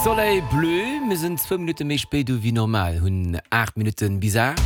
Soleil Bleu, mir sinn zwou Minutte méi spéit u wéi normal, hunn 8 Minutten bis 8.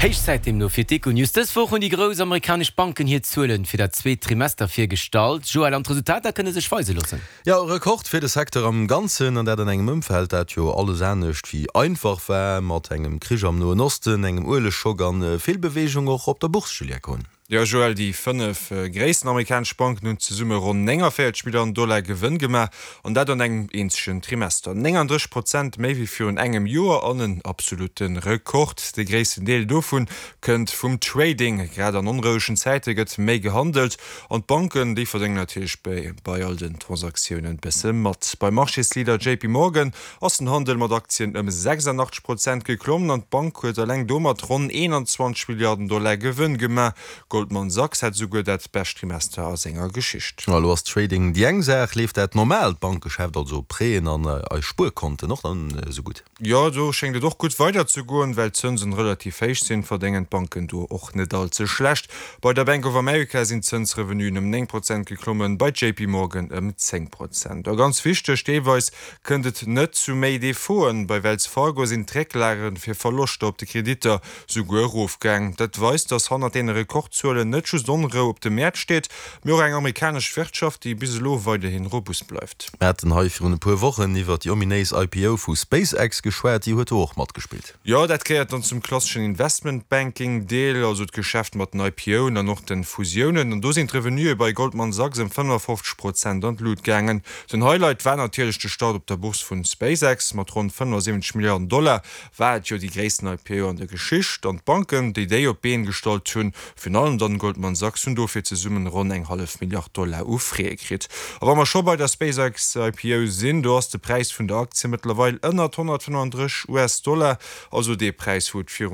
Héich Zäit deemno fir d'Econews. Dës Woch hunn déi grouss amerikanesch Banken hir Zuelen fir dat zweet Trimester virgestallt. Joël, an d'Resultater kënne sech weise loossen. Jo, e Rekord fir de Secteur am Ganzen, an dat an engem Ëmfeld, dat jo alles anescht wéi einfach war, mat engem Krich am Noen Osten, engem Uelegschock an vill Beweegung och op der Bourse, Julia Kohn. Jo, Joël, déi 5 gréissten amerikanesch Banken hunn zesumme ronn 49 Milliarden Dollar Gewënn gemaach, an dat an engem eenzegen Trimester. 39 Prozent méi wéi virun engem Joer an en absolutte Rekord. De gréissten Deel dovu kënnt vum Trading. Grad an onrouegen Zäite gëtt méi gehandelt. An d'Banken, déi verdéngen natierlech bei all den Transaktiounen bësse mat. Beim Marchésleader JP Morgan ass den Handel mat Aktien ëm 86 Prozent geklommen an d'Bank huet eleng domat ronn 21 Milliarden Dollar Gewënn gemaach. Goldman Sachs hat esouguer dat bescht Trimester a senger Geschicht. Elo ass Trading déi eng Saach. Leeft dat normaalt Bankgeschäft, also Prêten an eis Spuerkonten och dann esou gutt? Jo, do schéngt et och gutt weider ze goen. Well d'Zënsen relativ héich sinn, verdéngen d'Banken do och net all ze schlecht. Bei der Bank of America sinn d'Zënsrevenuen ëm 9 Prozent geklommen, bei JP Morgan ëm 10 Prozent. A ganz wichteg, deelweis kënnt et net zu méi Defauten. Bei Wells Fargo sinn d'Récklage fir Verloschter op de Kreditter souguer erofgaang. Dat weist, datt hannert deene Rekordzuelen net just Onrou op de Mäert steet, mee och eng amerikanesch Wirtschaft, déi bis elo weiderhi robust bleift. Mir haten hei virun e puer Wochen iwwer déi ominéis IPO vu SpaceX geschwat. Déi huet do och matgespillt. Jo, dat gehéiert dann zum klasseschen Investment Banking Deel, also d'Geschäft mat den IPOen an och den Fusiounen. An do sinn d'Revenuë bei Goldman Sachs ëm 55 Prozent an d'Lut gaangen. Den Highlight war natierlech de Start op der Bourse vun SpaceX. Mat ronn 75 Milliarden Dollar war et jo déi gréissten IPO an der Geschicht. An d'Banken, déi déi op d'Been gestallt hunn, Virun allem dann Goldman Sachs hunn dofir zesummen ronn eng hallef Milliard Dollar u Frais kritt. A wa mer scho bei der SpaceX IPO sinn, do ass de Präis vun der Aktie mëttlerweil ënnert 135 US Dollar, also dee Präis wou et virun.